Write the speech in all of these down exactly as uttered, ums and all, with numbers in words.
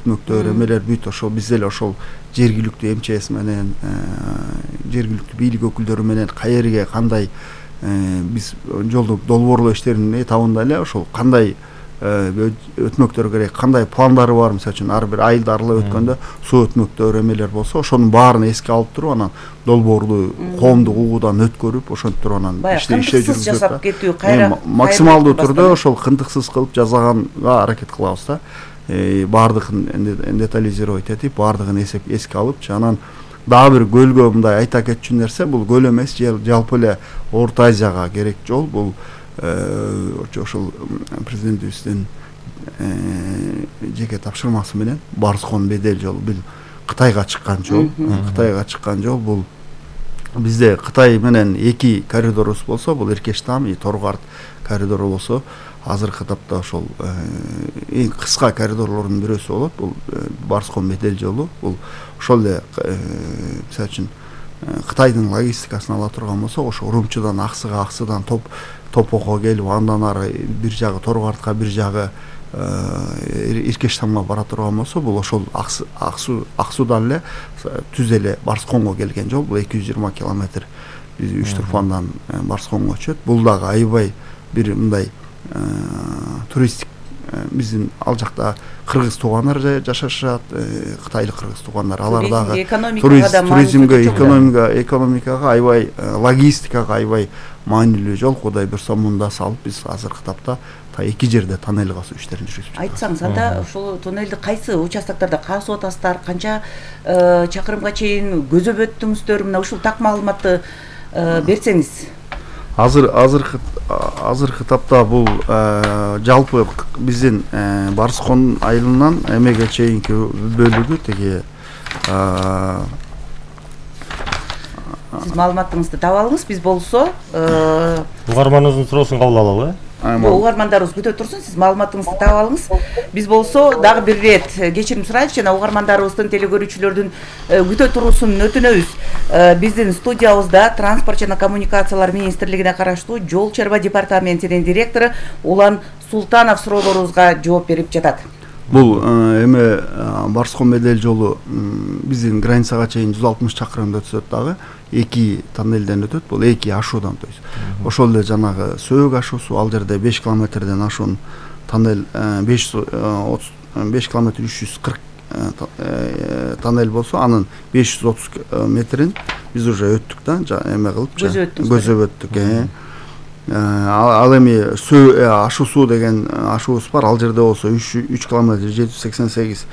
өтмөктөр эмелер бүт ошол биз эле ошол жергиликтүү эм че эс менен жергиликтүү бийлик өкүлдөрү менен каерге кандай биз жолду долбоорлоо иштеринин этабында эле ошол кандай өтмөктөр керек, кандай пландары бар, мисалы үчүн ар бир айылды аралап өткөндө суу өтмөктөр эмелер болсо, ошонун баарын эске алып туруп, анан долбоорлуу коомдук угуудан өткөрүп, ошентип туруп анан иште жүргүзүп жасап кетүү, кайра максималдуу түрдө ошол кындыксыз кылып жасаганга аракет кылабыз да. Баардыгын детализировать этип, баардыгын эсеп эске алып, анан дагы бир көлгө мындай айта кетчү нерсе, бул көл эмес, жалпы эле Орто Азияга керек жол, бул ошол президентибиздин жеке тапшырмасы менен Барскон Бедел жолу, бул Кытайга чыккан жол, Кытайга чыккан жол. Бул бизде Кытай менен эки коридорубуз болсо, бул Иркештам и Торгарт коридору болсо, азыркы тапта ошол эң кыска коридорлордун бирөөсү болот. Бул Барскон Бедел жолу. Бул ошол эле мисалы үчүн Кытайдын логистикасын ала турган болсо, ошо Урумчудан Аксыга, Аксыдан топ Топокко келип, андан ары бир жагы Торгартка, бир жагы Иркештамга бара турган болсо, бул ошол Аксу Аксудан эле түз эле Барсконго келген жол. Бул эки жүз жыйырма километр биз Үч Турфандан Барсконго өтөт. Бул дагы аябай бир мындай туристик, биздин ал жакта кыргыз туугандар жашашат, кытайлык кыргыз туугандар, алар дагы туризмге, экономикага, экономикага аябай, логистикага аябай маанилүү жол. Кудай буйрса мында салып, биз азыркы тапта эки жерде тоннель касуу иштерин жүргүзүп жатабыз. Айтсаңыз, анда ошол тоннелди кайсы участоктарда касып атасыздар, канча чакырымга чейин көзөп өттүңүздөр, мына ушул так маалыматты берсеңиз. Азыр азыркы азыркы тапта бул жалпы биздин Барскон айылынан эмеге чейинки бөлүгү теги сиз маалыматыңызды таба алыңыз, биз болсо угарманыбыздын суроосун кабыл алалы. Угармандарыбыз күтө турсун, сиз маалыматыңызды таба алыңыз. Биз болсо дагы бир ирет кечирим сурайлычы, жана угармандарыбыздын, телекөрүүчүлөрдүн күтө туруусун өтүнөбүз. Биздин студиябызда Транспорт жана коммуникациялар министрлигине караштуу Жол чарба департаментинин директору Улан Султанов суроолорубузга жооп берип жатат. Бул эме Барскон Бедел жолу биздин границага чейин жүз алтымыш чакырымды өтсөт дагы, эки тоннелден өтөт. Бул эки ашуудан, то есть ошол эле жанагы Сөөк ашуусу, ал жерде беш километрден ашуун тоннель, беш жүз отуз беш километр үч жүз кырк тоннель болсо, анын беш жүз отуз метрин биз уже өттүк да, эме кылып, көзөп өттүк. Ал эми ашуу суу деген ашуубуз бар, ал жерде болсо үч километр жети жүз сексен сегиз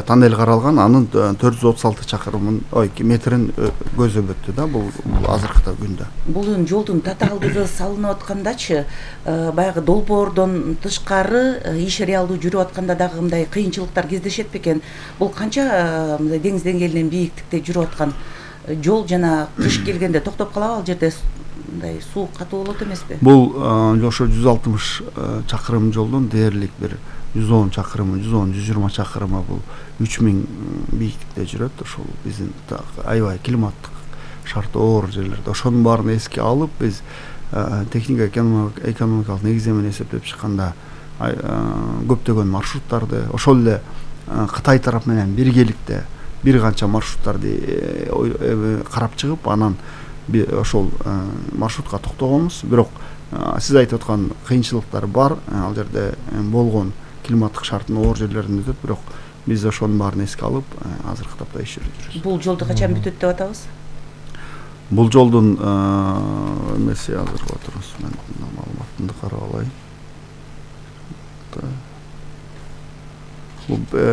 тоннель каралган, анын төрт жүз отуз алты чакырымын, ой, метрин көзөп өттү да, бул азыркы күндө. Бул жолдун татаалдыгы салынып аткандачы, баягы долбоордон тышкары иш реалдуу жүрүп атканда дагы мындай кыйынчылыктар кездешет бекен? Бул канча мындай деңиз деңгээлинен бийиктикте жүрүп аткан жол, жана кыш келгенде токтоп калабы, ал жерде мындай суу катуу болот эмеспи? Бул ошо жүз алтымыш чакырым жолдун дээрлик бир жүз он чакырымы, жүз он жүз жыйырма чакырымы бул үч миң бийиктикте жүрөт. Ошол биздин аябай климаттык шарты оор жерлерде. Ошонун баарын эске алып, биз техника экономикалык негиздемени эсептеп чыкканда көптөгөн маршруттарды, ошол эле Кытай тарап менен биргеликте бир канча маршруттарды карап чыгып, анан ошол маршрутка токтогонбуз. Бирок сиз айтып аткан кыйынчылыктар бар, ал жерде болгон климаттык шарттын оор жерлеринде өтөт, бирок биз ошонун баарын эске алып, азыркы тапта иш жүргүзөбүз. Бул жолду качан бүтөт деп атабыз? Бул жолдун эмеси азыр отурубуз, мен маалыматымды карап алайын.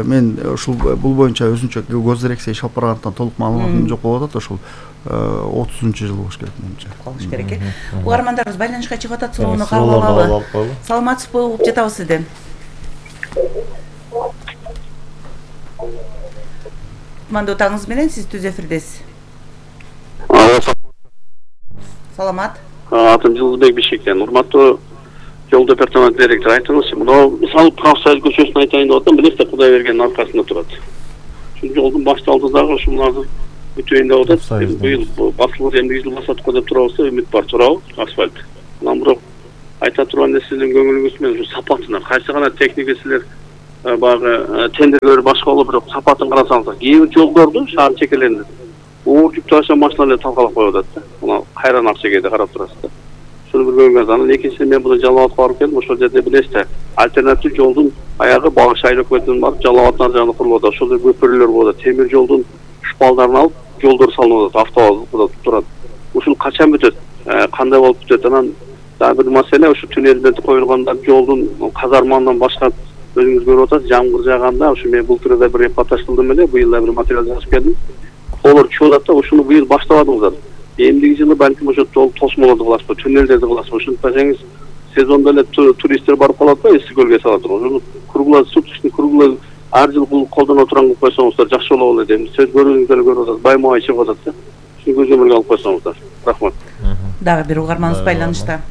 Мен ушул бул боюнча өзүнчө госдирекция иш алып баргандыктан толук маалыматым жок болуп атат. Ошол отузунчу жыл болуш керек менимче. Болуш керек э. Угармандарыбыз байланышка чыгып атат, суроону кабыл алалы. Саламатсызбы, угуп жатабыз сизден. Кутмандуу таңыңыз менен, сиз түз эфирдесиз. Саламат. Атым Жылдыбек Бишектен. Урматтуу жол департамент директору, айтыңызчы, мына салып Кавсайыл көчөсүн айтайын деп атам, билесиз, Кудай бергендин аркасында турат. Ушул жолдун башталды дагы ушуларды бүтөйүн деп атат. Быйыл басылып эмне жыл басат го деп турабыз, үмүт бар, турабы, асфальт. Анан бирок айта турган нерседен көңүлүңүз менен ушу сапатына кайсы гана техника силер баягы тендерлер башка болуп, бирок сапатын карасаңыз, кээ бир жолдорду шаар чекелеринде оор жүк ташыган машиналар талкалап коюп атат да. Мына кайран акчекейде карап турасыз да. Шуну бир көргөнүз. Анан экинчиси мен бул Жалал абадка барып келдим. Ошол жерде билесиз да, альтернатив жолдун аягы Багыш айыл өкмөтүнүн барып Жалал абадтын ар жагында курулуп атат. Ошол жерде көпүрөлөр болот. Темир жолдун шпалдарын алып, жолдор салынып атат, автобус турат. Ушул качан бүтөт? Кандай болуп бүтөт? Анан дагы бир маселе, ушу туннелден коюлганда жолдун казармандан башка өзүңүз көрүп атасыз, жамгыр жааганда, ушу мен бул турда бир репортаж кылдым эле, быйыл да бир материал жазып келдим. Колор чуп атат да, ушуну быйыл баштабадыңыздар. Эмдиги жылы балким ошо тосмолорду кыласызбы, туннелдерди кыласызбы. Ушинтпесеңиз сезондо эле туристтер барып калат да, Эски көлгө салат. Ошону круглый суточный круглый ар жыл бул колдоно турган кылып койсоңуздар жакшы болот эле. Сөз көрүүңүздөр көрүп атасыз, баймай чыгып атат да. Шуну көзөмөлгө алып койсоңуздар. Рахмат. Дагы бир угарманыбыз байланышта.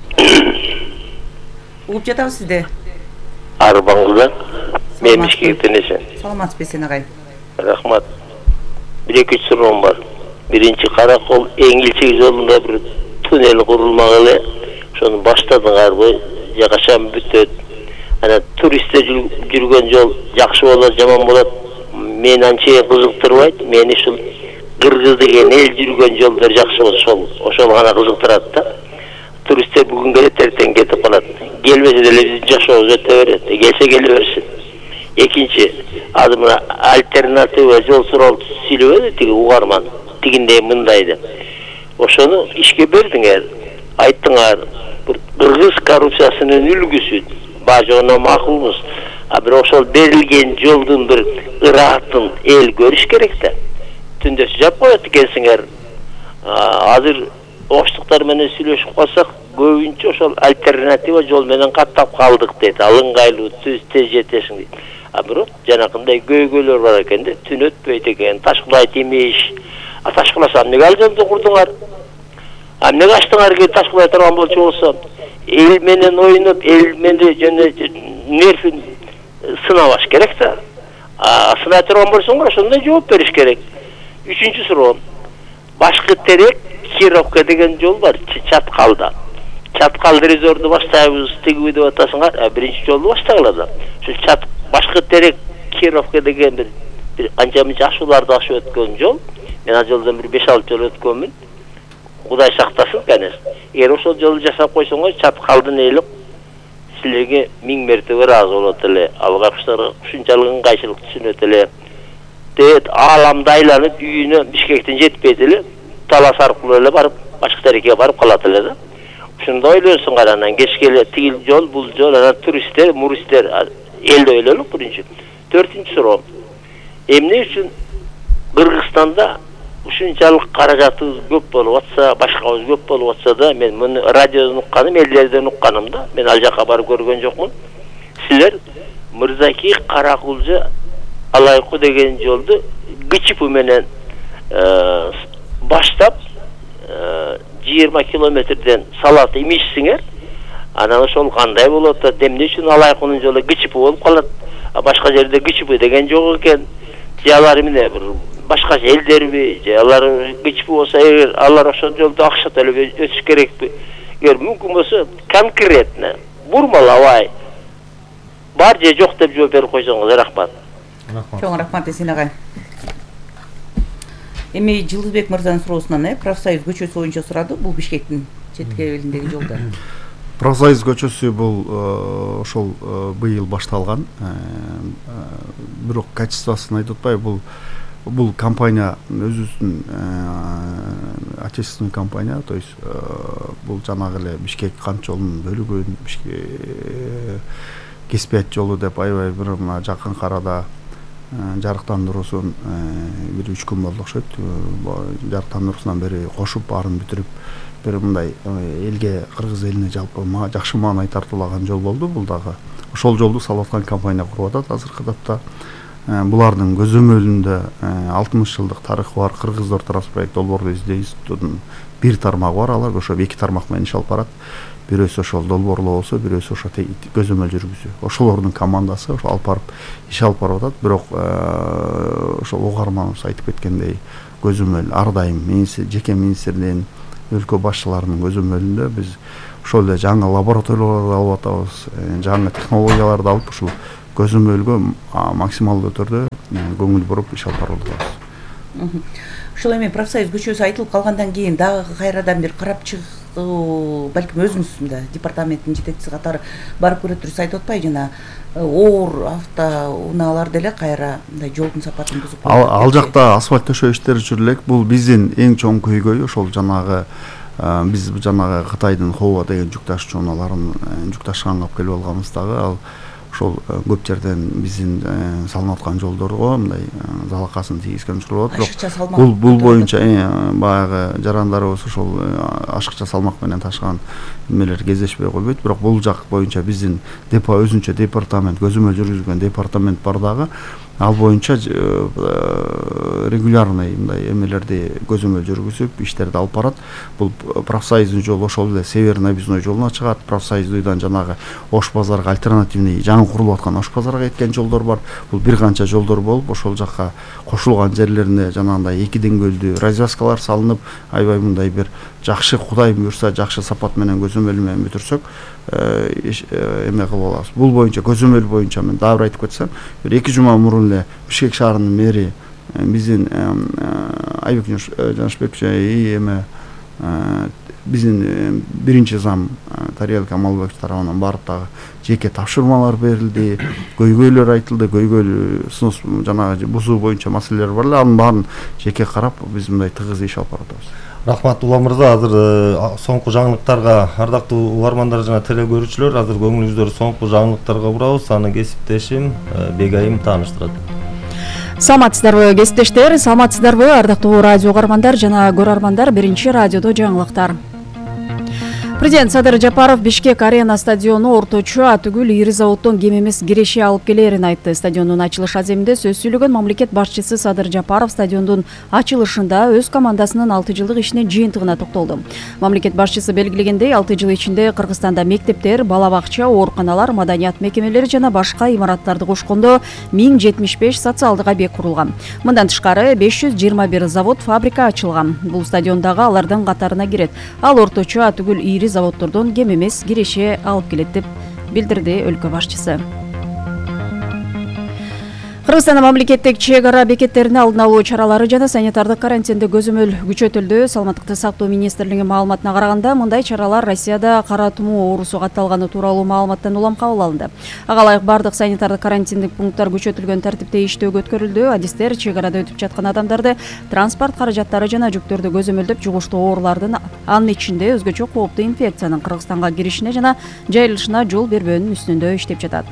Угуп жатабыз сизди. Арбаңызда мен Бишкектен эсен. Саламатсызбы сен агай? Рахмат. Bir-iki суроом бар. Биринчи Каракол Эңилчек жолунда бир туннел курулмагылы. Ошону баштадыңарбы? Же качан бүтөт? Ана туристтер жүргөн жол жакшы болот, жаман болот. Мени анча кызыктырбайт. Мени ушул Кыргыз деген эл жүргөн жолдор жакшы болот. Ошол ошол гана кызыктырат да. Туристтер бүгүн келет, эртең кетип калат. Келбесе деле биздин жашообуз өтө берет. Келсе келе берсин. Экинчи, азыр мына альтернатива жол суроолду сүйлөбөдү тиги угарман. Тигиндей мындай деп. Ошону ишке бердиңер. Айттыңар, бир кыргыз коррупциясынын үлгүсү. Бажоно макулбуз. А бирок ошол берилген жолдун бир ыраатын эл көрүш керек да. Түндө жап коет экенсиңер. Азыр оштуктар менен сүйлөшүп калсак, көбүнчө ошол альтернатива жол менен каттап калдык дейт. Ал ыңгайлуу, тез жетесиң дейт. А бирок жанакындай көйгөйлөр бар экен да, түн өтпөйт экен, ташкылайт имиш. А ташкыласа эмнеге ал жолду курдуңар? А эмнеге ачтыңар ки ташкылай турган болчу болсо? Эл менен ойноп, эл менен жана нервин сынабаш керек да. А сынай турган болсоңор ошондой жооп бериш керек. Үчүнчү суроо. Башкы терек Кировка деген жол бар, Чаткалда. Чаткал резорду баштайбыз, тигиби деп атасыңар, а биринчи жолду баштагыла да. Ошо чат башкы терек Кировка деген бир бир анча-мынча ашууларды ашып өткөн жол. Мен ал жолдон бир беш алты жол өткөнмүн. Кудай сактасын, конечно. Эгер ошол жолду жасап койсоңор, Чаткалдын эли силерге миң мертебе ыраазы болот эле. Алгачтар ушунчалык ыңгайчылык түшүнөт эле. Дет ааламды айланып үйүнө Бишкектен жетпейт эле. Талас аркылуу эле барып, башка терекке барып калат эле да. Ушунда ойлонсуңар, анан кечке эле тигил жол, бул жол, анан туристтер, муристтер элди ойлонуп биринчи. Төртүнчү суроо. Эмне үчүн Кыргызстанда ушунчалык каражатыбыз көп болуп атса, башкабыз көп болуп атса да, мен муну радиодон укканым, элдерден укканым да, мен ал жака барып көргөн жокмун. Силер Мырзаки Каракулжа Алайкы деген жолду ГЧП менен баштап жыйырма километрден салат имишсиңер. Анан ошол кандай болот да, эмне үчүн Алайкынын жолу ГЧП болуп калат, а башка жерде ГЧП деген жок экен. Же алар эмне бир башка элдерби, же алар ГЧП болсо, эгер алар ошол жолду акча төлөп өтүш керекпи? Эгер мүмкүн болсо конкретно бурмалабай бар же жок деп жооп берип койсоңуз рахмат. Чоң рахмат Эсен агай. Эми Жылдызбек мырзанын суроосунан э профсоюз көчөсү боюнча сурады, бул Бишкектин четкебелиндеги жолдо. Профсоюз көчөсү бул ошол быйыл башталган. Бирок качествосын айтып атпай, бул бул компания өзүбүздүн отечественный компания, то есть бул жанагы эле Бишкек кант жолунун бөлүгүн, Бишкек Кеспият жолу деп аябай бир мына жакын арада жарыктандыруусун бир үч күн болду окшойт. Жарыктандыруусунан бери кошуп баарын бүтүрүп бир мындай элге, кыргыз элине жалпы жакшы маанай тартуулаган жол болду. Бул дагы ошол жолду салып аткан компания куруп атат азыркы тапта. Булардын көзөмөлүндө алтымыш жылдык тарыхы бар Кыргыз Ортос проект долбоорду издөө институтунун бир тармагы бар. Алар ошо эки тармак менен иш алып барат. Бирөөсү ошол долбоорлоо болсо, бирөөсү ошо көзөмөл жүргүзүү. Ошолордун командасы ошо алып барып иш алып барып атат. Бирок ошол угарманыбыз айтып кеткендей, көзөмөл ар дайым жеке министрдин, өлкө башчыларынын көзөмөлүндө биз ошол эле жаңы лабораторияларды алып атабыз, жаңы технологияларды алып ушул көзөмөлгө максималдуу түрдө көңүл буруп иш алып барып атабыз. Ошол эми профсоюз көчөсү айтылып калгандан кийин дагы кайрадан бир карап чыгуу, балким өзүңүз да департаменттин жетекчиси катары барып көрө турсуз айтып атпайбы, жана оор автоунаалар деле кайра мындай жолдун сапатын бузуп ал, ал жакта асфальт төшөө иштери жүрүп элек. Бул биздин эң чоң көйгөй ошол жанагы биз жанагы Кытайдын Хова деген жүк ташуучу унааларын жүк ташыганга алып келип алганыбыздагы ал ошол көп жерден биздин салынып аткан жолдорго мындай залакасын тийгизген учурлар болот. Бул бул боюнча баягы жарандарыбыз ошол ашыкча салмак менен ташыган эмелер кездешпей койбойт. Бирок бул жак боюнча биздин депо өзүнчө департамент, көзөмөл жүргүзгөн департамент бар дагы. Ал боюнча регулярный мындай эмелерди көзөмөл жүргүзүп, иштерди алып барат. Бул профсоюздун жолу ошол эле Северный объездной жолуна чыгат. Профсоюздуйдан жанагы Ош базарга альтернативный жаңы курулуп аткан Ош базарга кеткен жолдор бар. Бул бир канча жолдор болуп, ошол жакка кошулган жерлерине жанагындай эки деңгөлдүү развязкалар салынып, аябай мындай бир жакшы, Кудай буйрса, жакшы сапат менен көзөмөл менен бүтүрсөк, эме кылып алабыз. Бул боюнча көзөмөл боюнча мен дагы бир айтып кетсем, бир эки жума мурун эле Бишкек шаарынын мэри биздин Айбек Жанышбекович и эме биздин биринчи зам Тариел Камалбеков тарабынан барып дагы жеке тапшырмалар берилди, көйгөйлөр айтылды, көйгөйлүү сунуш жанагы бузуу боюнча маселелер бар эле, анын баарын жеке карап биз мындай тыгыз иш алып баратабыз. Рахмат Улам мырза, азыр соңку жаңылыктарга ардактуу угармандар жана теле көрүүчүлөр, азыр көңүлүңүздөрдү соңку жаңылыктарга бурабыз. Аны кесиптешим Бегайым тааныштырат. Саламатсыздарбы кесиптештер, саламатсыздарбы ардактуу радио угармандар жана көрөрмандар. Биринчи радиодо жаңылыктар. Президент Садыр Жапаров Бишкек арена стадиону орточо атүгүл ири заводдон кем эмес киреше алып келерин айтты. Стадиондун ачылыш аземинде сөз сүйлөгөн мамлекет башчысы Садыр Жапаров стадиондун ачылышында өз командасынын алты жылдык ишинин жыйынтыгына токтолду. Мамлекет башчысы белгилегендей, алты жыл ичинде Кыргызстанда мектептер, бала бакча, ооруканалар, маданият мекемелери жана башка имараттарды кошкондо миң жетимиш беш социалдык объект курулган. Мындан тышкары беш жүз жыйырма бир завод, фабрика ачылган. Бул стадиондагы алардын катарына кирет. Ал орточо атүгүл ири заводдордон кем эмес киреше алып келет деп билдирди өлкө башчысы. Кыргызстанда мамлекеттик чек ара бекеттерине алдын алуу чаралары жана санитардык карантинде көзөмөл күчөтүлдү. Саламаттыкты сактоо министрлигинин маалыматына караганда, мындай чаралар Россияда кара тумоо оорусу катталганы тууралуу маалыматтан улам кабыл алынды. Ага ылайык бардык санитардык карантиндик пункттар күчөтүлгөн тартипте иштөөгө өткөрүлдү. Адистер чек арада өтүп жаткан адамдарды, транспорт каражаттары жана жүктөрдү көзөмөлдөп, жугуштуу оорулардын, анын ичинде өзгөчө кооптуу инфекциянын Кыргызстанга киришине жана жайылышына жол бербөөнүн үстүндө иштеп жатат.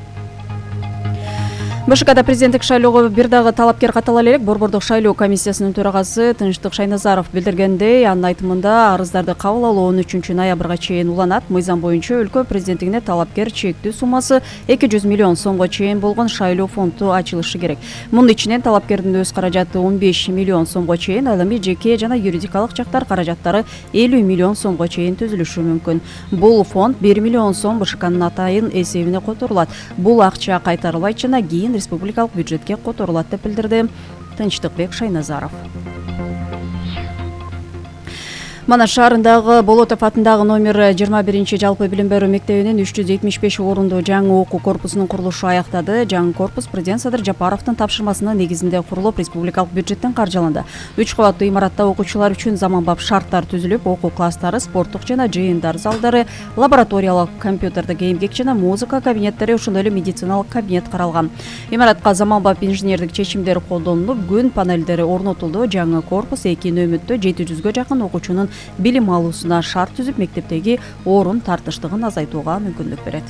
БШКда президенттик шайлоого бир дагы талапкер каттала элек. Борбордук шайлоо комиссиясынын төрагасы Тынчтык Шайназаров билдиргендей, анын айтымында арыздарды кабыл алуу он үчүнчү ноябрга чейин уланат. Мыйзам боюнча өлкө президенттигине талапкер чектүү суммасы эки жүз миллион сомго чейин болгон шайлоо фонду ачылышы керек. Мунун ичинен талапкердин өз каражаты он беш миллион сомго чейин, ал эми жеке жана юридикалык жактар каражаттары элүү миллион сомго чейин түзүлүшү мүмкүн. Бул фонд бир миллион сом БШКнын атайын эсебине которулат. Бул акча кайтарылбайт жана кийин республикалык бюджетке которулат деп билдирди Тынчтыкбек Шайназаров. Манаш шаарындагы Болотов атындагы номер жыйырма биринчи жалпы билим берүү мектебинин үч жүз жетимиш беш орундуу жаңы окуу корпусунун курулушу аяктады. Жаңы корпус президент Садыр Жапаровдун тапшырмасынын негизинде курулуп, республикалык бюджеттен каржыланды. үч кабаттуу имаратта окуучулар үчүн заманбап шарттар түзүлүп, окуу класстары, спорттук жана жыйындар залдары, лабораториялык компьютердик эмгек жана музыка кабинеттери, ошондой эле медициналык кабинет каралган. Имаратка заманбап инженердик чечимдер колдонулуп, күн панелдери орнотулду. Жаңы корпус эки нөмөттө жети жүзгө жакын окуучунун билим алуусуна шарт түзүп, мектептеги орун тартыштыгын азайтууга мүмкүнлүк берет.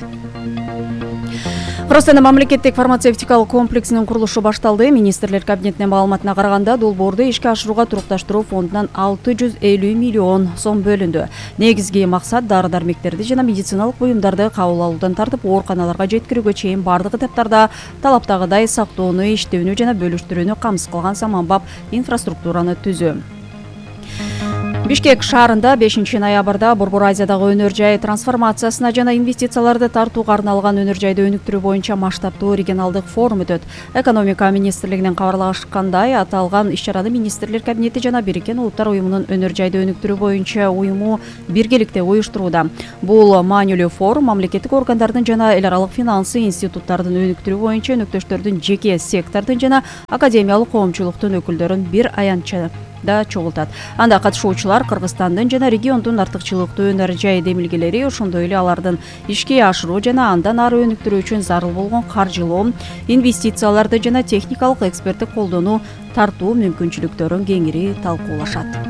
Кыргызстанда мамлекеттик фармацевтикалык комплексинин курулушу башталды. Министрлер кабинетинин маалыматына караганда, долбоорду ишке ашырууга турукташтыруу фондунан алты жүз элүү миллион сом бөлүндү. Негизги максат дары-дармектерди жана медициналык буюмдарды кабыл алуудан тартып, ооруканаларга жеткирүүгө чейин бардык этаптарда талаптагыдай сактоону, иштөөнү жана бөлүштүрүүнү камсыз кылган заманбап инфраструктураны түзүү. Бишкек шаарында бешинчи ноябрда Борбор Азиядагы өнөр жай трансформациясына жана инвестицияларды тартууга арналган өнөр жайды өнүктүрүү боюнча масштабтуу регионалдык форум өтөт. Экономика министрлигинин кабарлашкандай, аталган иш-чараны министрлер кабинети жана Бириккен Улуттар уюмунун өнөр жайды өнүктүрүү боюнча уюму биргеликте уюштурууда. Бул маанилүү форум мамлекеттик органдардын жана эл аралык финансы институттардын өнүктүрүү боюнча өнөктөштөрдүн, жеке сектордун жана академиялык коомчулуктун өкүлдөрүн бир аянтча да чогултат. Анда катышуучулар Кыргызстандын жана региондун артыкчылыктуу өнөр жай демилгелери, ошондой эле алардын ишке ашыруу жана андан ары өнүктүрүү үчүн зарыл болгон каржылоо, инвестицияларды жана техникалык эксперттик колдонуу тартуу мүмкүнчүлүктөрүн кеңири талкуулашат.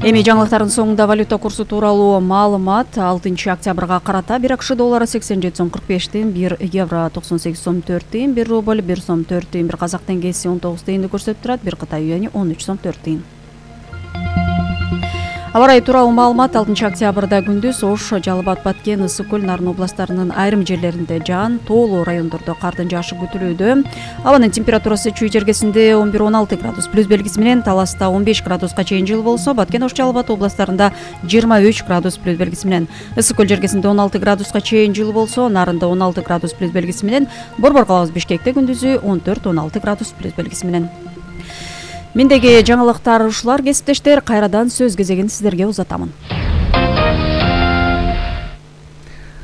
Эми жаңылыктардын соңунда валюта курсу тууралуу маалымат. алтынчы октябрга карата бир акш доллары сексен жети сом кырк беш тыйын, бир евро токсон сегиз сом төрт тыйын, бир рубль бир сом төрт тыйын, бир казак теңгеси он тогуз тыйынды көрсөтүп турат, бир Кытай юани он үч сом төрт тыйын. Аба ырайы тууралуу маалымат. алтынчы октябрда күндүз Ош, Жалал Абад, Баткен, Ысык Көл, Нарын областарынын айрым жерлеринде жаан, тоолуу райондордо кардын жаашы күтүлүүдө. Абанын температурасы Чүй жергесинде он бир он алты градус плюс белгиси менен, Таласта он беш градуска чейин жылы болсо, Баткен, Ош, Жалал Абад областарында жыйырма үч градус плюс белгиси менен, Ысык Көл жергесинде он алты градуска чейин жылы болсо, Нарында он алты градус плюс белгиси менен, Борбор калабыз Бишкекте күндүзү он төрт он алты градус плюс белгиси менен. Мендеги жаңылыктар ушулар, кесиптештер. Кайрадан сөз кезегин сиздерге узатамын.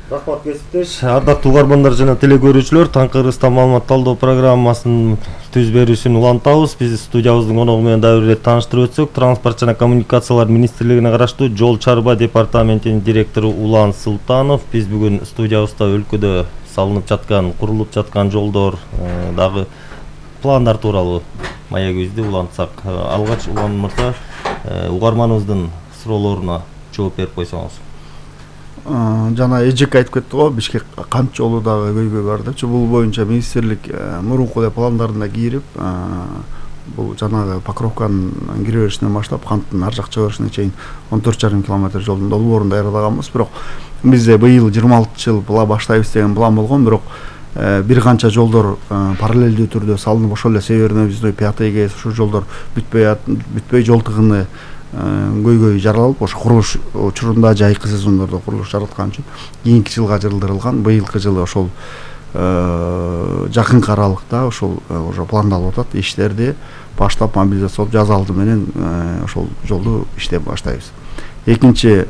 Рахмат кесиптеш. Ардактуу угармандар жана телекөрүүчүлөр, Таңкы Кыргызстан маалымат талдоо программасынын түз берүүсүн улантабыз. Биз студиябыздын коногу менен дагы бир ирет тааныштырып өтсөк, Транспорт жана коммуникациялар министрлигине караштуу Жол чарба департаментинин директору Улан Султанов. Биз бүгүн студиябызда өлкөдө салынып жаткан, курулуп жаткан жолдор дагы пландар тууралуу маегибизди улантсак. Алгач Улан мырза, угарманыбыздын суроолоруна жооп берип койсоңуз. Жана эжек айтып кетти го, Бишкек камч жолу дагы көйгөй бар депчи. Бул боюнча министрлик мурунку пландарына кирип, бул жанагы Покровканын кире беришинен баштап канттын ар жак чыга беришине чейин он төрт жарым километр жолдун долбоорун даярдаганбыз. Бирок бизде быйыл жыйырма алтынчы жыл була баштайбыз деген план болгон, бирок бир канча жолдор параллелдүү түрдө салынып, ошол эле Северный Объездной, Пятый, ушул жолдор бүтпөй бүтпөй жол тыгыны көйгөй жаралып, ошо курулуш учурунда жайкы сезондордо курулуш жараткан үчүн кийинки жылга жылдырылган. Быйылкы жылы ошол жакынкы аралыкта ошол уже пландалып атат. Иштерди баштап мобилизациялап жаз алды менен ошол жолду иштеп баштайбыз. Экинчи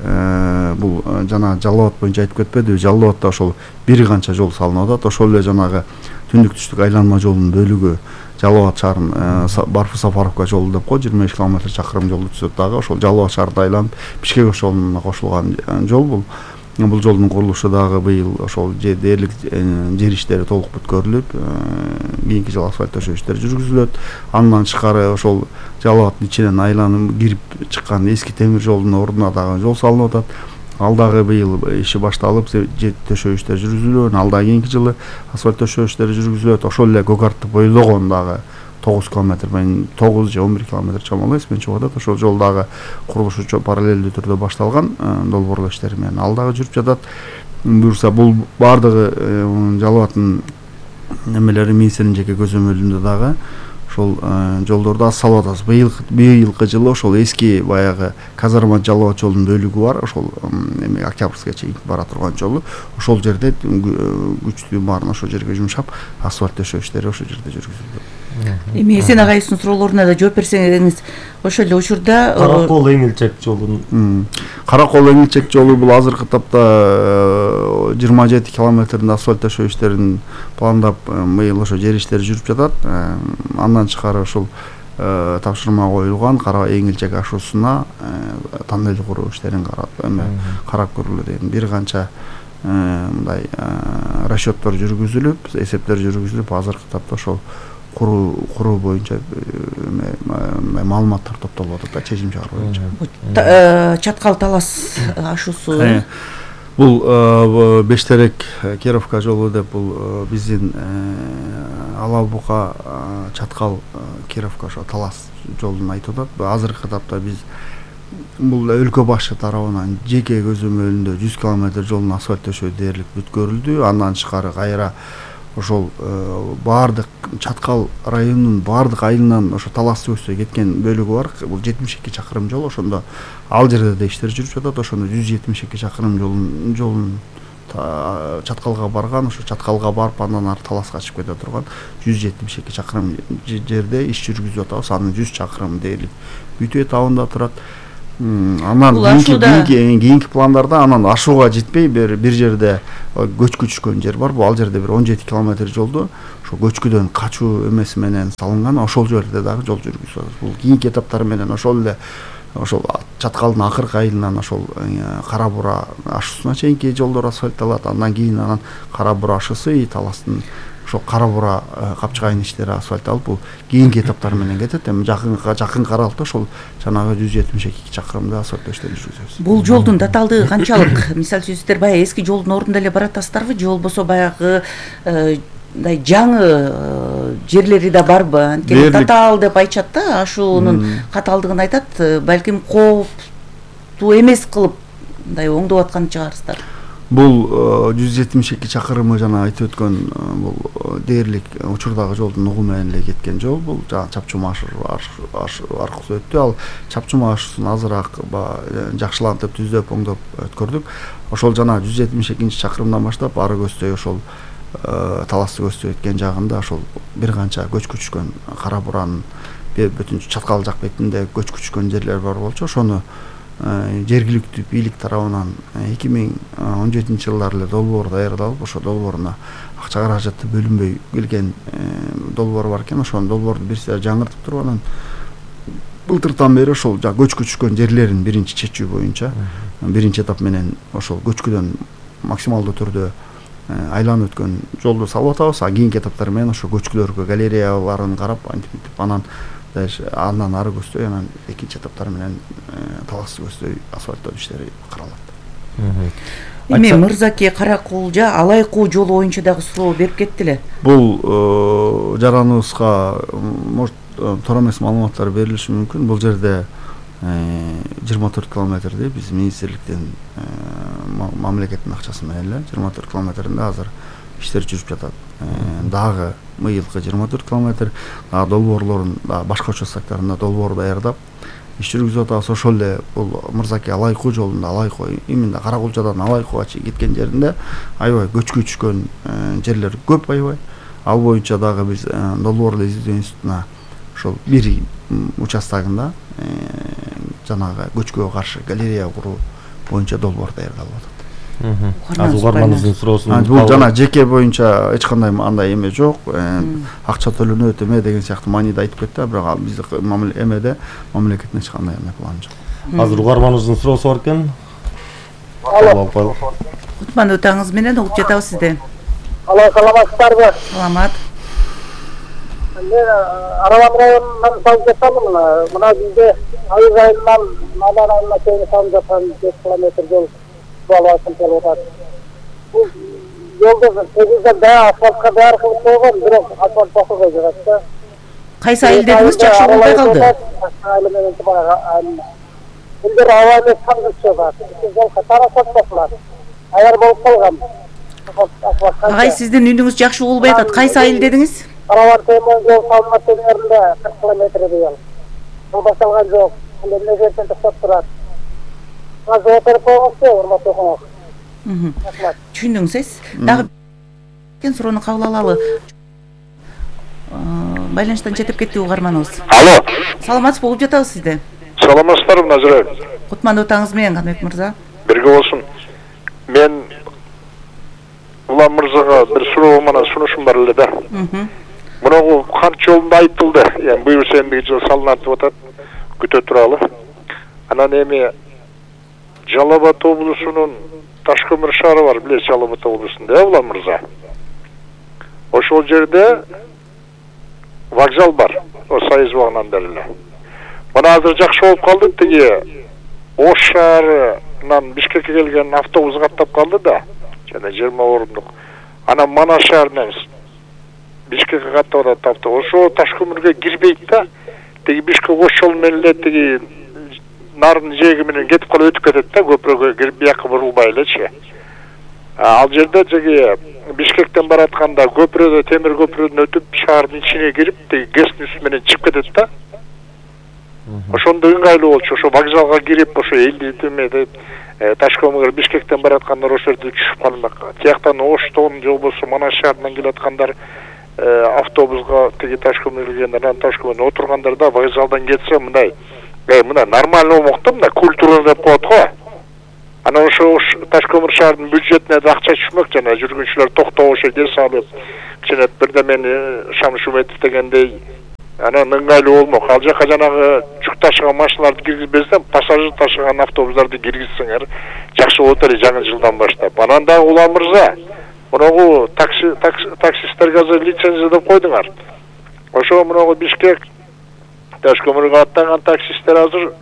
бул жана Жалал Абад боюнча айтып кетпедиби? Жалал Абадда ошол бир канча жол салынып атат. Ошол эле жанагы түндүк түштүк айланма жолунун бөлүгү Жалал Абад шаарынын Барфы Сафаровка жолу деп кой, жыйырма беш километр чакырым жолду түзөт дагы. Ошол Жалал Абад шаарында айланып Бишкек ошолуна кошулган жол бул. Бул жолдун курулушу дагы быйыл ошол дээрлик жер иштери толук бүткөрүлүп, кийинки жылы асфальт төшөө иштери жүргүзүлөт. Андан тышкары ошол Жалал Абаддын ичинен айланып кирип чыккан эски темир жолдун ордуна дагы жол салынып атат. Ал дагы быйыл иши башталып, жер төшөө иштери жүргүзүлөт. Ал дагы кийинки жылы асфальт төшөө иштери жүргүзүлөт. Ошол эле Гөгартты бойлогон дагы тогуз километр, мен тогуз же он бир километр чамалуу эсимен чыгып атат. Ошол жол дагы курулушу параллелдүү түрдө башталган, долбоорлоо иштери менен ал дагы жүрүп жатат. Буюрса бул баардыгы Жалал Абадтын немелери министрдин жеке көзөмөлүндө дагы ошол жолдорду салып атабыз. Быйыл быйылкы жылы ошол эски баягы Казарма Жалал Абад жолунун бөлүгү бар, ошол эми Октябрьская чейин бара турган жолу. Ошол жерде күчтүү баарын ошол жерге жумшап, асфальт төшөө иштери ошол жерде жүргүзүлөт. Эми Эсен агайыбыздын суроолоруна да жооп берсеңиз, ошол эле учурда Каракол Эңилчек жолунун Каракол Эңилчек жолу бул азыркы тапта жыйырма жети километринде асфальт төшөө иштерин пландап, быйыл ошо жер иштери жүрүп жатат. Андан тышкары ошол тапшырма коюлган Кара Эңилчек ашуусуна тоннель куруу иштерин карап көрүлөт деген бир канча мындай расчеттор жүргүзүлүп, эсептер жүргүзүлүп, азыркы тапта ошол куруу куруу боюнча маалыматтар топтолуп атат да, чечим чыгаруу боюнча. Чаткал Талас ашуусу бул Бештерек Кировка жолу деп, бул биздин Ала Бука Чаткал Кировка ошо Талас жолун айтып атат. Азыркы тапта биз бул өлкө башы тарабынан жеке көзөмөлүндө жүз километр жолун асфальт төшөө дээрлик бүткөрүлдү. Андан тышкары кайра ошол баардык Чаткал районунун баардык айылынан ошо талас көздөй кеткен бөлүгү бар. Бул жетимиш эки чакырым жол. Ошондо ал жерде да иштер жүрүп жатат. Ошондо жүз жетимиш эки чакырым жолун жолун Чаткалга барган, ошо Чаткалга барып андан ары таласка чыгып кете турган жүз жетимиш эки чакырым жерде иш жүргүзүп атабыз. Анын жүз чакырым дээрлик бүтө этабында турат. Анан кийинки кийинки пландарда анан ашууга жетпей бир бир жерде көчкү түшкөн жер бар. Бул ал жерде бир он жети километр жолду ошо көчкүдөн качуу эмеси менен салынган. Ошол жерде дагы жол жүргүзүп атабыз. Бул кийинки этаптар менен ошол эле ошол Чаткалдын акыркы айылынан ошол Кара Бура ашуусуна чейинки жолдор асфальтталат. Андан кийин анан Кара Бура ашуусу таластын ошо Кара Бура капчыгайын иштери асфальтталып, бул кийинки этаптар менен кетет. Эми жакынга жакын каралыкта ошол жанагы жүз жетимиш эки чакырымда асфальттоо иштери жүргүзөбүз. Бул жолдун татаалдыгы канчалык? Мисалы үчүн сиздер баягы эски жолдун ордунда эле баратасыздарбы же болбосо баягы мындай жаңы жерлери да барбы? Анткени татаал деп айтышат да, ашуунун катаалдыгын айтат, балким кооптуу эмес кылып мындай оңдоп аткан чыгарсыздар. Бул жүз жетимиш эки чакырымы жана айтып өткөн бул дээрлик учурдагы жолдун угу менен эле кеткен жол. Бул жана Чапчума аркылуу өттү. Ал Чапчума ашуусун азыраак жакшылантып, түздөп, оңдоп өткөрдүк. Ошол жана жүз жетимиш экинчи чакырымдан баштап ары көздөй ошол таласты көздөй өткөн жагында ошол бир канча көчкү түшкөн Кара Буранын бүтүн Чаткал жак бетинде көчкү түшкөн жерлер бар болчу. Ошону жергиликтүү бийлик тарабынан эки миң он жетинчи жылдары эле долбоор даярдалып, ошо долбооруна акча каражаты бөлүнбөй келген долбоор бар экен. Ошонун долбоорду бир сыйра жаңыртып туруп, анан былтыртан бери ошол көчкү түшкөн жерлерин биринчи чечүү боюнча биринчи этап менен ошол көчкүдөн максималдуу түрдө айланып өткөн жолду салып атабыз. А кийинки этаптар менен ошо көчкүлөргө галереяларын карап, антип анан андан ары көздөй анан экинчи этаптар менен таласты көздөй асфальттоо иштери каралат. Эми Мырзаке Каракулжа Алайкуу жолу боюнча дагы суроо берип кетти эле. Бул жараныбызга может туура эмес маалыматтар берилиши мүмкүн. Бул жерде жыйырма төрт километрди биз министрликтен мамлекеттин акчасы менен эле жыйырма төрт километринде азыр иштер жүрүп жатат. Дагы мыйылкы жыйырма төрт километр дагы долбоорлорун башка участоктарында долбоор даярдап иш жүргүзүп атабыз. Ошол эле бул Мырзаке Алайкуу жолунда Алайкуу именно Каракулжадан Алайкууга кеткен жеринде аябай көчкү түшкөн жерлер көп аябай. Ал боюнча дагы биз долбоорлор изилдөө институтуна ошол бир участогунда жанагы көчкүгө каршы галерея куруу боюнча долбоор даярдалып атат. Азыр угарманыбыздын суроосун бул жана жеке боюнча эч кандай андай эме жок, акча төлөнөт эме деген сыяктуу мааниде айтып кетти, бирок биздин эмеде мамлекеттин эч кандай эме планы жок. Азыр угарманыбыздын суроосу бар экен. Кутман өтөңүз менен угуп жатабыз сизди. Алай, саламатсыздарбы? Саламат. Мен Аралам районунан салып жатамын. Мына бизде айыл айылынан Маман айылына чейин салып жаткан беш километр жол баласын келип атат. Бул жолду тегизден баа асфальтка даяр кылып койгон, бирок асфальт басылбай жатат да. Кайсы айыл дедиңиз? Жакшы болбой калды. Айыл менен баягы бир аба эмес кандырчы бар. Жол катарасат басылат. Аяр болуп калган. Агай, сиздин үнүңүз жакшы болбой атат. Кайсы айыл дедиңиз? Караван Таймон жол салынат жеринде кырк километр быйыл. Бул башталган жок. Эмне жерден токтоп турат. Азыр отуруп койгонсу, урматтуу окуңуз. Түшүндүңүз. Дагы кен суроону кабыл алалы. Байланыштан четип кетти угарманыбыз. Алло. Саламатсызбы, угуп жатабыз сизди. Саламатсыздарбы, Назира? Кутман өтөңүз менен Канбек мырза. Бирге болсун. Мен Улам мырзага бир суроо менен сунушум бар эле да. Мунугу кант жолунда айтылды. Эми буюрса эмдиги жыл салынат деп атат. Күтө туралы. Анан эми Жалал Абад облусунун Ташкөмүр шаары бар, билесиз, Жалал Абад облусунда, э, Улам мырза. Ошол жерде вокзал бар. О Союз багынан бери эле. Мына азыр жакшы болуп калды, тиги Ош шаарынан Бишкекке келген автобус каттап калды да. Жана жыйырма орундук. Анан Мана шаарынан Бишкекке каттап атат автобус. Ошо Ташкөмүргө кирбейт да. Тиги Бишкек Ош жолу менен эле тиги нарын жээги менен кетип калып өтүп кетет да, көпүрөгө кирип бияка бурулбай элечи. Ал жерде жеги Бишкектен баратканда көпүрөдө темир көпүрөдөн өтүп шаардын ичине кирип тиги гэстин үстү менен чыгып кетет да. Ошондо ыңгайлуу болчу. Ошо вокзалга кирип, ошо элди төмөдө Ташкомго Бишкектен бараткандар ошол жерде түшүп калмак. Тияктан Оштон же болбосо Манас шаарынан келаткандар автобуска тиги Ташкомго келгендер, анан Ташкомдо отургандар да вокзалдан кетсе мындай, э мына нормально болмок да, мына культура деп коет го. Анан ошо Ташком шаарынын бюджетине да акча түшмөк, жана жүргүнчүлөр токтоп ошо дес алып, кичине бирдемени Шамш Уметов дегендей анан ыңгайлуу болмок. Ал жака жанагы жүк ташыган машиналарды киргизбестен пассажир ташыган автобустарды киргизсеңер жакшы болот эле жаңы жылдан баштап. Анан дагы Улан мырза, мынагу такси таксисттерге азыр лицензия деп койдуңар. Ошо мынагу Бишкек Ташкомго аттаган таксисттер азыр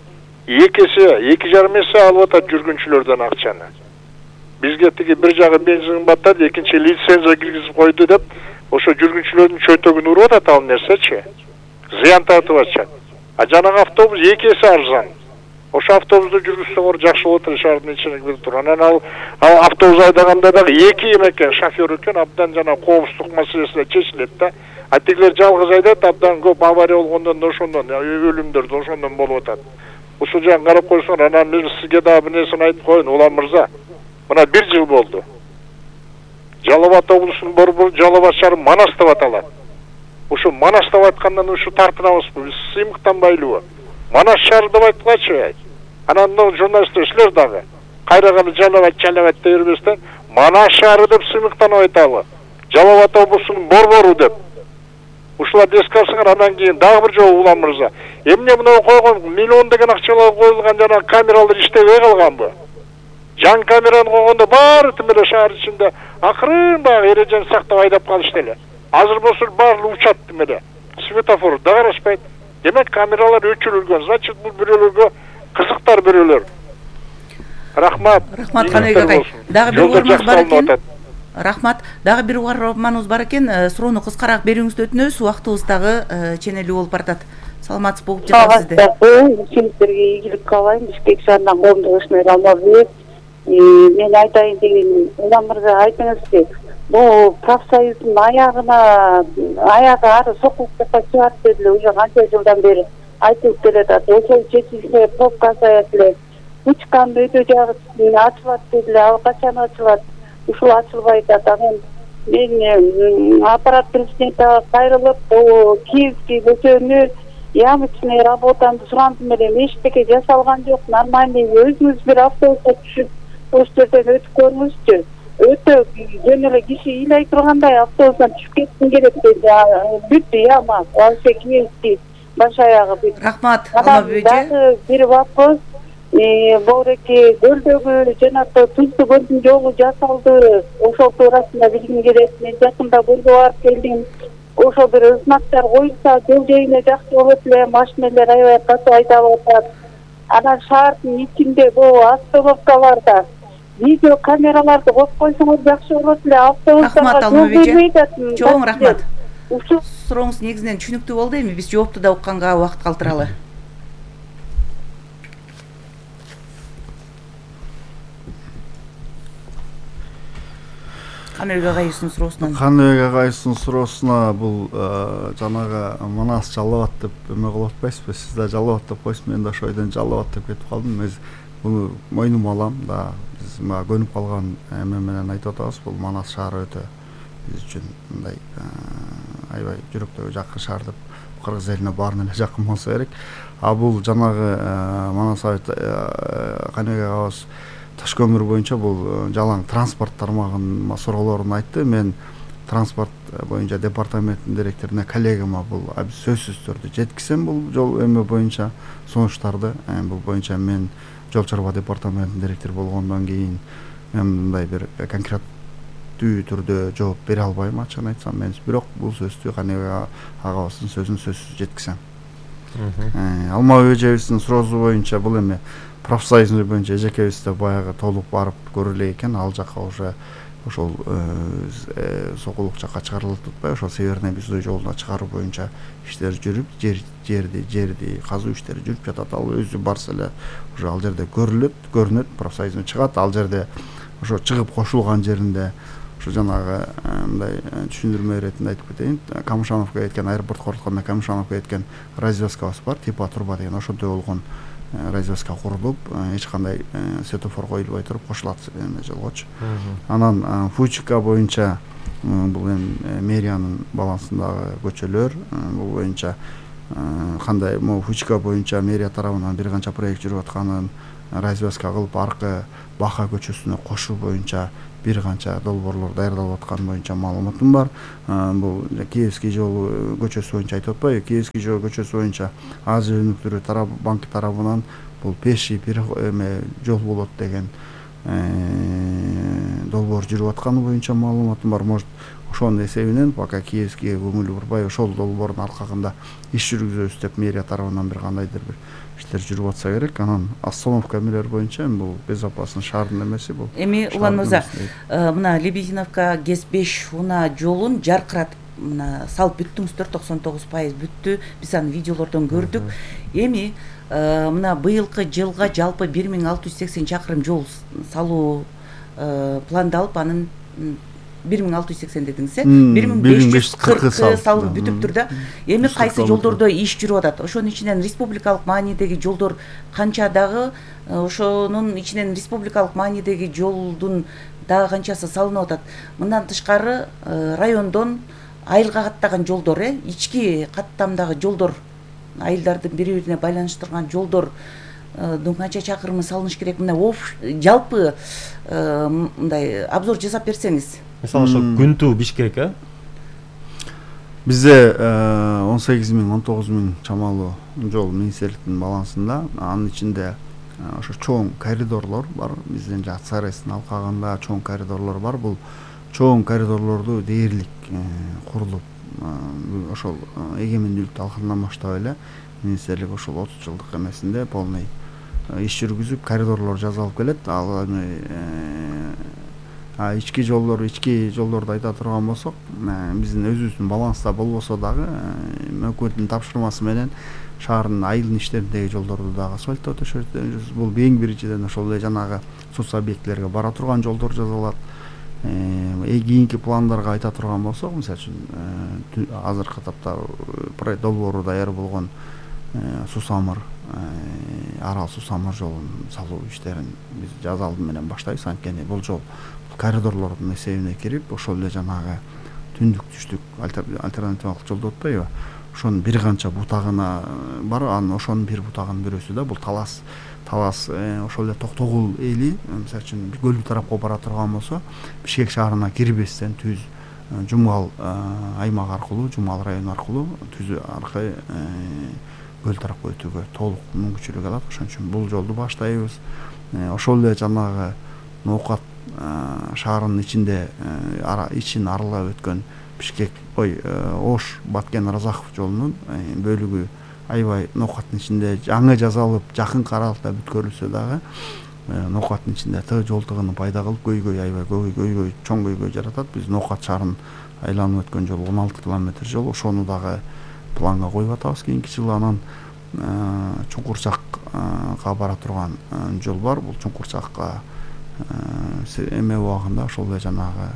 эки эсе, эки жарым эсе алып атат жүргүнчүлөрдөн акчаны. Бизге тиги бир жагы бензин кымбаттады, экинчи лицензия киргизип койду деп, ошо жүргүнчүлөрдүн чөйтөгүн уруп атат ал нерсечи. Зыян тартып атышат. А жанагы автобус эки эсе арзан. Ошо автобусту жүргүзсөңөр жакшы болот эле шаардын ичине кирип туруп. Анан ал автобус айдаганда дагы эки экен шофер экен, абдан жана коопсуздук маселеси чечилет да. А тигилер жалгыз айдайт, абдан көп авария болгондон да ошондон өлүмдөр да ошондон болуп атат. Ушул жагын карап койсоңор, анан мен сизге дагы бир нерсени айтып коеюн, Улан мырза. Мына бир жыл болду. Жалал Абад облусунун борбору Жалал Абад шаары Манас деп аталат. Ошо Манас деп айткандан ушу тартынабызбы, биз сыймыктанбайлыбы? Манас шаары деп айткылачы. Анан мына журналисттер силер дагы кайраганы Жалал Абад, Жалал Абад дей бербестен Манас шаары деп сыймыктанып айталы. Жалал Абад облусунун борбору деп. Ушуларды эске алсаңар, анан кийин дагы бир жолу Улан мырза. Эмне мына койгон миллион деген акчалар коюлган жана камералар иштебей калганбы? Жан камераны койгондо баары тим эле шаар ичинде акырын баягы эрежени сактап айдап калышты эле. Азыр болсо баары учат тим эле. Светофор да карашпайт. Демек камералар өчүрүлгөн. Значит, бул бирөөлөргө кызыктар бирөөлөр. Рахмат. Рахмат Каныбек агай. Дагы бир угарманыбыз бар экен. Рахмат. Дагы бир угарманыбыз бар экен. Суроону кыскараак берүүңүздү өтүнөбүз. Убактыбыз дагы ченелүү болуп баратат. Саламатсыз болуп жатасызды. Сиздерге ийгилик каалайм. Бишкек шаарынан коомдук ишмер Алмазбек. Мен айтайын деген, Улан мырза айтыңызчы. Бул профсоюздун аягына аягы ары сокулукка чыгат деп эле уже канча жылдан бери айтылып келатат. Ошол чечилсе пробка азаят эле. Учкан өтө жагы ачылат деп эле, ал качан ачылат? Ушул ачылбай атат. Анан мен аппарат президентке кайрылып, Киевский көчөнү ямочный работаны сурандым эле, эчтеке жасалган жок, нормальный өзүңүз бир автобуска түшүп ошол жерден өтүп көрүңүзчү. Өтө жөн эле киши ыйлай тургандай автобустан түшүп кетким келет дейт. Бүттү яма, вообще Киевский баш аягы бүт. Рахмат, Алмазбек. Дагы бир вопрос. Боореке көлдөгү жана Туздуу көлдүн жолу жасалды. Ошол туурасында билгим келет. Мен жакында көлгө барып келдим. Ошол бир знактар коюлса, жол жайына жакшы болот эле, машиналар аябай каты айдап атат. Анан шаардын ичинде бул остановкаларда видео камераларды коюп койсоңор жакшы болот эле. Автобустарга жол бербейт атат. Чоң рахмат. Сурооңуз негизинен түшүнүктүү болду, эми биз жоопту да укканга убакыт калтыралы. Каныбек агайыбыздын суроосунан. Каныбек агайыбыздын суроосуна бул жанагы Манас Жалал Абад деп эме кылып атпайсызбы? Сиз да Жалал Абад деп койсуз, мен да ошол ойдон Жалал Абад деп кетип калдым. Мен буну мойнума алам да. Биз мага көнүп калган эме менен айтып атабыз. Бул Манас шаары өтө биз үчүн мындай аябай жүрөктөгү жакын шаар деп, кыргыз элине баарына эле жакын болсо керек. А бул жанагы Манас Каныбек агабыз Ташкөмүр боюнча бул жалаң транспорт тармагынын суроолорун айтты. Мен транспорт боюнча департаменттин директоруна, коллегама бул сөзсүз түрдө жеткизсем бул жол эме боюнча сунуштарды. Бул боюнча мен жол чарба департаментинин директору болгондон кийин мен мындай бир конкреттүү түрдө жооп бере албайм, ачыгын айтсам. Мен бирок бул сөздү Каныбек агабыздын сөзүн сөзсүз жеткизем. Алмазбек эжебиздин суроосу боюнча бул эме профсоюз боюнча эжекебиз да баягы толук барып көрүлө экен. Ал жака уже ошол сокулук жака чыгарылып атпайбы? Ошол Северный Бизой жолуна чыгаруу боюнча иштер жүрүп, жерди жерди казуу иштери жүрүп жатат. Ал өзү барса эле уже ал жерде көрүлөт, көрүнөт, профсоюздун чыгат. Ал жерде ошо чыгып кошулган жеринде Ошо жанагы мындай түшүндүрмө иретинде айтып кетейин. Камышановко кеткен аэропортко орткондо Камышановко кеткен развязкабыз бар, типа турба деген ошондой болгон развязка курулуп, эч кандай светофор коюлбай туруп кошулат эме жолгочу. Анан Фучика боюнча бул эми мэриянын балансындагы көчөлөр, бул боюнча кандай могу Фучика боюнча мэрия тарабынан бир канча проект жүрүп атканын, развязка кылып аркы Баха көчөсүнө кошуу боюнча бир канча долбоорлор даярдалып атканы боюнча маалыматым бар. Бул Киевский жол көчөсү боюнча айтып атпайбы? Киевский жол көчөсү боюнча Азия өнүктүрүү тарап банк тарабынан бул пеши бир эме жол болот деген долбоор жүрүп атканы боюнча маалыматым бар. Может, ошонун эсебинен пока Киевскийге көңүл бурбай ошол долбоордун аркагында иш жүргүзөбүз деп мэрия тарабынан бир кандайдыр бир иштер жүрүп атса керек. Анан остановка эмелер боюнча бул безопасный шаардын эмеси бул. Эми Улан мырза, мына Лебединовка ГЭС беш унаа жолун жаркыратып мына салып бүттүңүздөр, токсон тогуз пайыз бүттү. Биз аны видеолордон көрдүк. Эми мына быйылкы жылга жалпы бир миң алты жүз сексен чакырым жол салуу пландалып, анын бир миң алты жүз сексен дедиңиз, э? бир миң беш жүз кыркы салынып бүтүптүр да. Эми кайсы жолдордо иш жүрүп атат? Ошонун ичинен республикалык маанидеги жолдор канча, дагы ошонун ичинен республикалык маанидеги жолдун дагы канчасы салынып атат? Мындан тышкары райондон айылга каттаган жолдор, э, ички каттамдагы жолдор, айылдардын бири-бирине байланыштырган жолдор канча чакырымы салыныш керек? Мына жалпы мындай обзор жасап берсеңиз. Мисалы ошо Күнтүү Бишкек, э? Бизде он сегиз миң он тогуз миң чамалуу жол министрликтин балансында, анын ичинде ошо чоң коридорлор бар. Биздин жак Царестин алкагында чоң коридорлор бар. Бул чоң коридорлорду дээрлик курулуп, ошол эгемендүүлүктү алгандан баштап эле министрлик ошол отуз жылдык эмесинде полный иш жүргүзүп, коридорлор жасалып келет. Ал эми ички жолдор, ички жолдорду айта турган болсок, биздин өзүбүздүн баланста болбосо дагы өкмөттүн тапшырмасы менен шаардын айылдын ичтериндеги жолдорду дагы асфальттоо төшөбүз. Бул эң биринчиден ошол эле жанагы соц объектилерге бара турган жолдор жасалат. Кийинки пландарга айта турган болсок, мисалы үчүн азыркы тапта проект долбоору даяр болгон Сусамыр, Арал Сусамыр жолун салуу иштерин биз жаз алды менен баштайбыз. Анткени бул жол коридорлордун эсебине кирип, ошол эле жанагы түндүк түштүк альтернативалык жол деп атпайбы? Ошонун бир канча бутагына бар. Анын ошонун бир бутагынын бирөөсү да бул Талас Талас ошол эле Токтогул эли, мисалы үчүн көлдү тарапка бара турган болсо, Бишкек шаарына кирбестен түз Жумгал аймак аркылуу, Жумгал району аркылуу түз аркы көл тарапка өтүүгө толук мүмкүнчүлүк алат. Ошон үчүн бул жолду баштайбыз. Ошол эле жанагы Ноокат шаарынын ичинде ичин аралап өткөн Бишкек, ой, Ош Баткен Разахов жолунун бөлүгү аябай Ноокаттын ичинде жаңы жасалып, жакын аралыкта бүткөрүлсө дагы Ноокаттын ичинде Т жол тыгынын пайда кылып, көйгөй аябай көйгөй, чоң көйгөй жаратат. Биз Ноокат шаарын айланып өткөн жол он алты километр жол, ошону дагы планга коюп атабыз кийинки жылы. Анан Чуңкурчакка бара турган жол бар. Бул Чуңкурчакка эме убагында ошол эле жанагы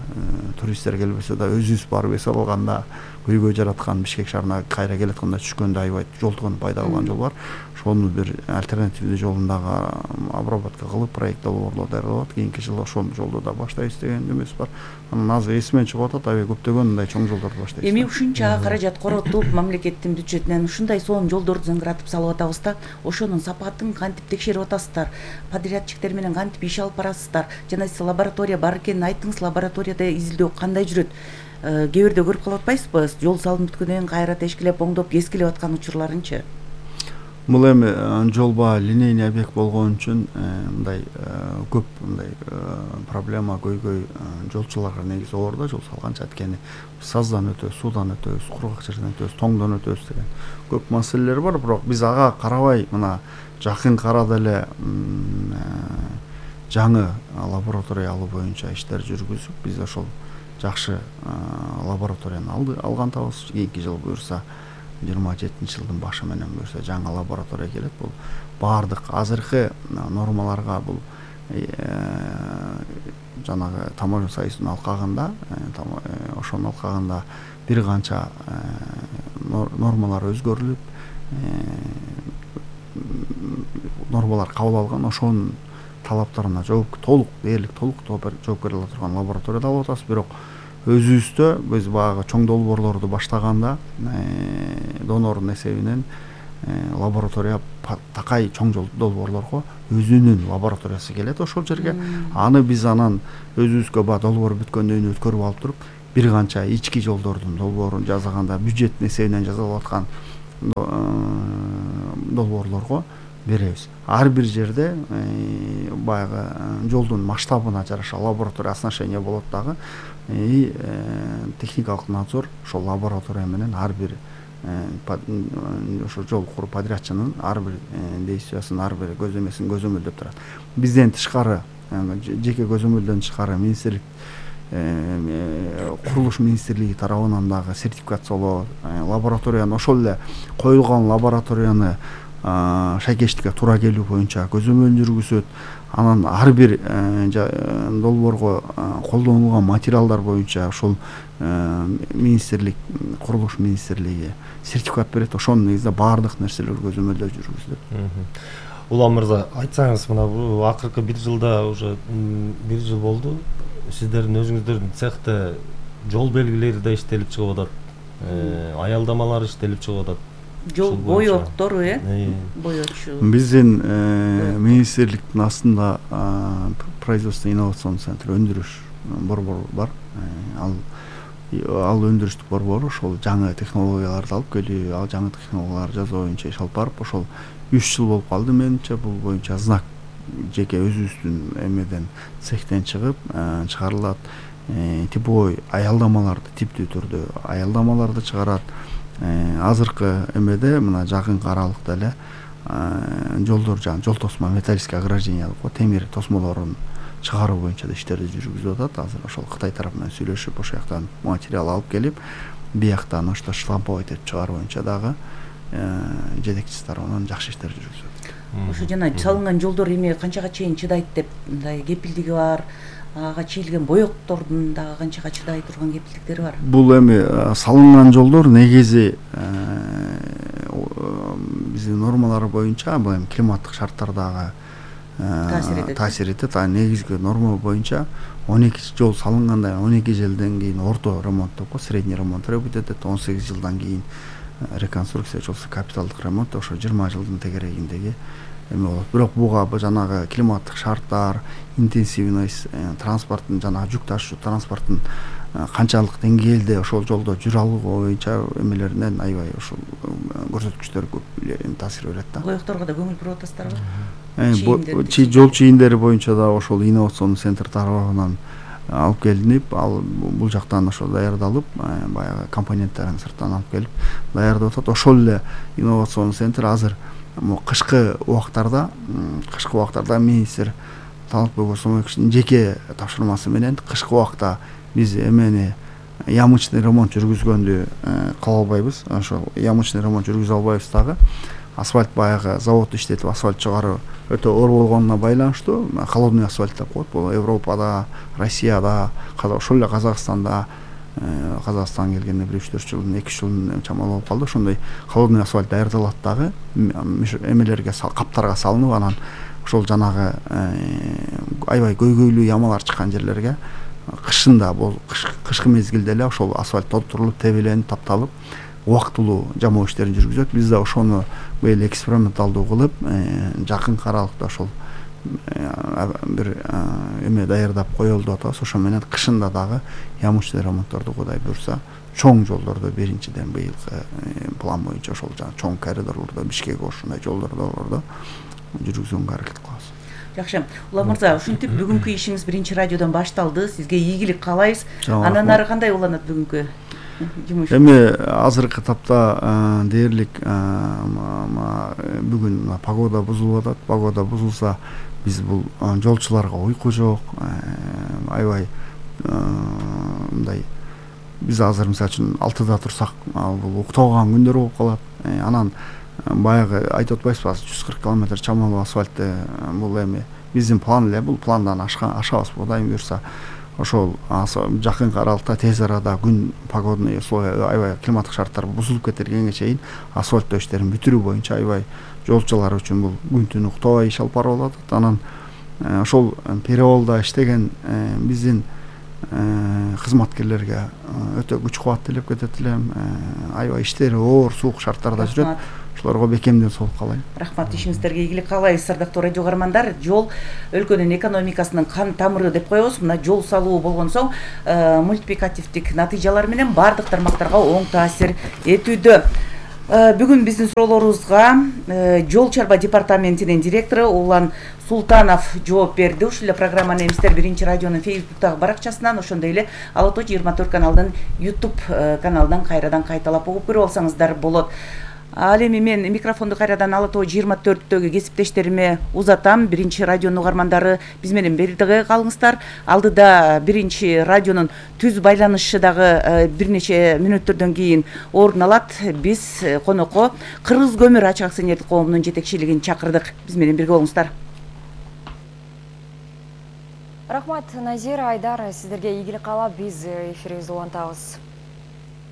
туристтер келбесе да өзүбүз барып эс алганда көйгөй жараткан Бишкек шаарына кайра келатканда түшкөндө аябай жол тыгын пайда болгон жол бар. Ошону бир альтернативдүү жолун дагы обработка кылып, проект долбоорлор даярдап, кийинки жылы ошол жолду да баштайбыз деген үмүтүбүз бар. Анан азыр эсимен чыгып атат, аябай көптөгөн мындай чоң жолдорду баштайбыз. Эми ушунча каражат коротуп, мамлекеттин бюджетинен ушундай сонун жолдорду зыңгыратып салып атабыз да, ошонун сапатын кантип текшерип атасыздар? Подрядчиктер менен кантип иш алып барасыздар? Жана сиз лаборатория бар экенин айттыңыз, лабораторияда изилдөө кандай жүрөт? Кээ бирде көрүп калып атпайсызбы? Жол салынып бүткөндөн кийин кайра тешкилеп, оңдоп, кескилеп аткан учурларынчы? Бул эми жолба линейный объект болгон үчүн мындай көп мындай проблема, көйгөй жолчуларга негизи оор да, жол салганча. Анткени саздан өтөбүз, суудан өтөбүз, кургак жерден өтөбүз, тоңдон өтөбүз деген көп маселелер бар. Бирок биз ага карабай, мына жакын арада эле жаңы лабораториялуу боюнча иштер жүргүзүп, биз ошол жакшы лабораторияны алды алган табыз. Кийинки жыл буюрса жыйырма жетинчи жылдын башы менен буюрса жаңы лаборатория келет. Бул баардык азыркы нормаларга, бул жанагы таможня союзунун алкагында ошонун алкагында бир канча нормалар өзгөрүлүп нормалар кабыл алган, ошонун талаптарына жооп толук дээрлик толук жооп бере ала турган лабораторияда алып атабыз. Бирок өзүбүздө биз баягы чоң долбоорлорду баштаганда донордун эсебинен лаборатория такай чоң долбоорлорго өзүнүн лабораториясы келет ошол жерге. Аны биз анан өзүбүзгө баягы долбоор бүткөндөн кийин өткөрүп алып туруп бир канча ички жолдордун долбоорун жасаганда бюджеттин эсебинен жасалып аткан долбоорлорго беребиз. Ар бир жерде баягы жолдун масштабына жараша лаборатория оснащение болот дагы. И техникалык надзор ошол лаборатория менен ар бир ошо жол куруу подрядчынын ар бир действиясын, ар бир көзөмөсүн көзөмөлдөп турат. Бизден тышкары, жеке көзөмөлдөн тышкары министрлик курулуш министрлиги тарабынан дагы сертификациялоо, лабораторияны ошол эле коюлган лабораторияны шайкештикке туура келүү боюнча көзөмөл жүргүзөт. Анан ар бир долбоорго колдонулган материалдар боюнча ошол министрлик, курулуш министрлиги сертификат берет. Ошонун негизинде баардык нерселер көзөмөлдөө жүргүзүлөт. Улам мырза, айтсаңыз, мына бул акыркы бир жылда уже бир жыл болду. Сиздердин өзүңүздөрдүн цехте жол белгилери да иштелип чыгып атат. Аялдамалар иштелип чыгып атат. Жол боёктор, э? Боёчу. Биздин министрликтин астында производство инновацион центр өндүрүш борбору бар. Ал ал өндүрүштүк борбору ошол жаңы технологияларды алып келүү, ал жаңы технологиялар жасоо боюнча иш алып барып, ошол үч жыл болуп калды менимче. Бул боюнча знак жеке өзүбүздүн эмеден цехтен чыгып чыгарылат. Типовой аялдамаларды типтүү түрдө аялдамаларды чыгарат. Азыркы эмеде мына жакынкы аралыкта эле жолдор жана жол тосмо металлическое ограждение деп коет, темир тосмолорун чыгаруу боюнча да иштерди жүргүзүп атат. Азыр ошол Кытай тарапы менен сүйлөшүп, ошол жактан материал алып келип, бияктан ошто штамповать этип чыгаруу боюнча дагы жетекчиси тарабынан жакшы иштер жүргүзүлөт. Ошо жана салынган жолдор эми канчага чейин чыдайт деп мындай кепилдиги бар? Ага чийилген боёктордун дагы канчага чыдай турган кепилдиктери бар? Бул эми салынган жолдор негизи биздин нормалар боюнча бул эми климаттык шарттардагы таасир этет. А негизги норма боюнча он эки жол салынгандан он эки жылдан кийин орто ремонт деп коет, средний ремонт требует этет. он сегиз жылдан кийин реконструкция, жолсу капиталдык ремонт, ошо жыйырма жылдын тегерегиндеги эме болот. Бирок буга жанагы климаттык шарттар, интенсивность, транспорттун жанагы жүк ташуу транспорттун канчалык деңгээлде ошол жолдо жүрө алуу боюнча эмелеринен аябай ошол көрсөткүчтөр көп таасир берет да. Боёкторго да көңүл буруп атасыздарбы? Жол чийимдери боюнча да ошол инновацион центр тарабынан алып келинип, ал бул жактан ошо даярдалып, баягы компоненттерин сырттан алып келип даярдап атат. Ошол эле инновацион центр азыр кышкы убактарда, кышкы убактарда министр Талантбек Осмонбековичтин жеке тапшырмасы менен кышкы убакта биз эмени ямочный ремонт жүргүзгөндү кыла албайбыз. Ошол ямочный ремонт жүргүзө албайбыз дагы. Асфальт баягы завод иштетип асфальт чыгаруу өтө оор болгонуна байланыштуу холодный асфальт деп коет. Бул Европада, Россияда, ошол эле Казакстанда, Казакстан келгенде бир үч төрт жылдын эки үч жылдын чамалуу болуп калды. Ошондой холодный асфальт даярдалат дагы, эмелерге каптарга салынып, анан ошол жанагы аябай көйгөйлүү ямалар чыккан жерлерге кышында бул кышкы мезгилде эле ошол асфальт толтурулуп, тебеленип, тапталып, убактылуу жамоо иштерин жүргүзөт. Биз да ошону быйыл эксперименталдуу кылып, жакынкы аралыкта ошол бир эме даярдап коелду деп атабыз. Ошо менен кышында дагы ямочный ремонтторду Кудай буйрса, чоң жолдордо биринчиден быйылкы план боюнча ошол чоң коридорлордо, Бишкек ушундай жолдордо жүргүзгөнгө аракет кылабыз. Жакшы. Улам мырза, ушинтип бүгүнкү ишиңиз биринчи радиодон башталды. Сизге ийгилик каалайбыз. Андан ары кандай уланат бүгүнкү жумуш? Эми азыркы тапта дээрлик бүгүн погода бузулуп атат. Погода бузулса, биз бул жолчуларга уйку жок, аябай мындай биз азыр мисалы үчүн алтыда турсак, бул уктабаган күндөр болуп калат. Анан баягы айтып атпайсызбы, жүз кырк километр чамалуу асфальтты бул эми биздин план эле бул, пландан ашабыз Кудайым буюрса. Ошол жакынкы аралыкта тез арада күн погодный условия, аябай климаттык шарттар бузулуп кетергенге чейин асфальттоо иштерин бүтүрүү боюнча аябай жолчулар үчүн бул күн түн уктабай иш алып барып атат. Анан ошол переолдо иштеген биздин кызматкерлерге өтө күч кубат тилеп кетет элем. Аябай иштери оор, суук шарттарда жүрөт. Ошолорго бекемден соолук каалайм. Рахмат, ишиңиздерге ийгилик каалайбыз. Ардактуу радио угармандар, жол өлкөнүн экономикасынын кан тамыры деп коебуз. Мына жол салуу болгон соң мультипликативдик натыйжалар менен бардык тармактарга оң таасир этүүдө. Бүгүн биздин суроолорубузга жол чарба департаментинин директору Улан Султанов жооп берди. Ушул эле программаны эмистер биринчи радионун Фейсбуктагы баракчасынан, ошондой эле Ала тоо жыйырма төрт каналдын YouTube каналынан кайрадан кайталап угуп көрүп алсаңыздар болот. Ал эми мен микрофонду кайрадан Ала тоо жыйырма төрттөгү кесиптештериме узатам. Биринчи радионун угармандары биз менен бирдиге калыңыздар. Алдыда биринчи радионун түз байланышы дагы бир нече мүнөттөрдөн кийин орун алат. Биз конокко Кыргыз көмүр ачык акционердик коомунун жетекчилигин чакырдык. Биз менен бирге болуңуздар. Рахмат, Назира, Айдар, сиздерге ийгилик каалап биз эфирибизди улантабыз.